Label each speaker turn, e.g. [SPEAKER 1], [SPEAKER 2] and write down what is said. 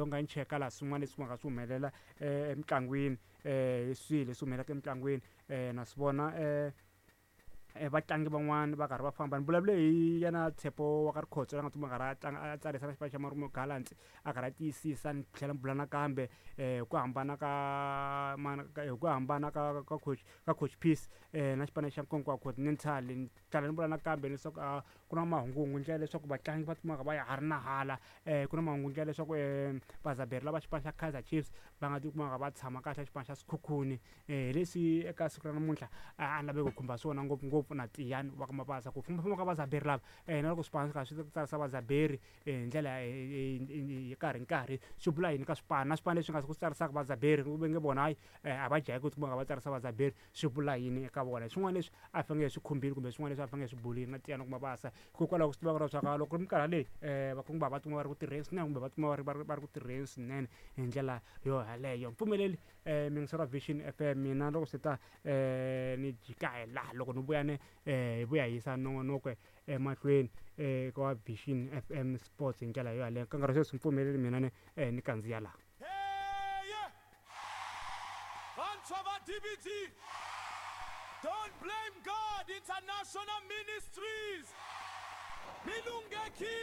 [SPEAKER 1] Loko nga ni cheka laha swin'wana leswi nga swi humelela emitlangwini, hi swihi leswi humelelaka emitlangwini, na swi vona vatlangi van'wani va karhi va famba. Ni vulavule hi yena Tshepo wa ka Rikhotso la nga tshama a karhi a tlanga, a tsarisa na xipano xa Marumo Gallants, a karhi a tiyisisa. Ni tlhela ni bula nakambe hi ku hambana ka hi ku hambana ka coach, ka Coach Peace na xipano xa Nkonkwa Continental. Ni tlhela ni vula nakambe leswaku a ku na mahunguhungu ndlela leswaku vatlangi va kumaka va ya ha ri na hala, ku na mahungu ndlela leswaku vazaberi lava xipano xa Kaizer Chiefs va nga tikumaka va tshama kahle xipano xa Sekhukhune. Hi leswi eka siku ra namuntlha a ni lave ku khumba swona ngopfungopfu na Tiyani wa ka Mabasa, ku fambafamba ka vazaberi lava, na loko swipano swi karhi swi tsarisa vazaberi hi ndlela hi nkarhi nkarhi, swi vula yini ka swipano, na swipano leswi nga ku tsarisaka vazaberi va nge vona hayi, a va jahi ku tikuma va tsarisa vazaberi, swi vula yini eka vona? Swin'wana leswi a fanele hi swi khumbile kumbe swin'wana leswi a fanele hi swi bulile na Tiyani wa ka Mabasa, hikokwalaho ku swi tiva leswaku loko ri minkarhi leyi vakungu va tikuma va ri ku tirheni swinene kumbe va tikuma va ri ku tirheni swinene hi ndlela yo yaleyo. Mpfumeleli miyingiseri wa Vision FM, mina loko swi ta ni jika hi laha, loko ni vuya ni hi vuya hi yisa nongonoko emahlweni ka Vision FM Sports hi ndlela yo yaleyo. Ka nkarhi sweswi mpfumeleli mina ni ni kandziya laha.
[SPEAKER 2] Vantshwa va DBT, Don't Blame God International Ministries, mi lunghekile!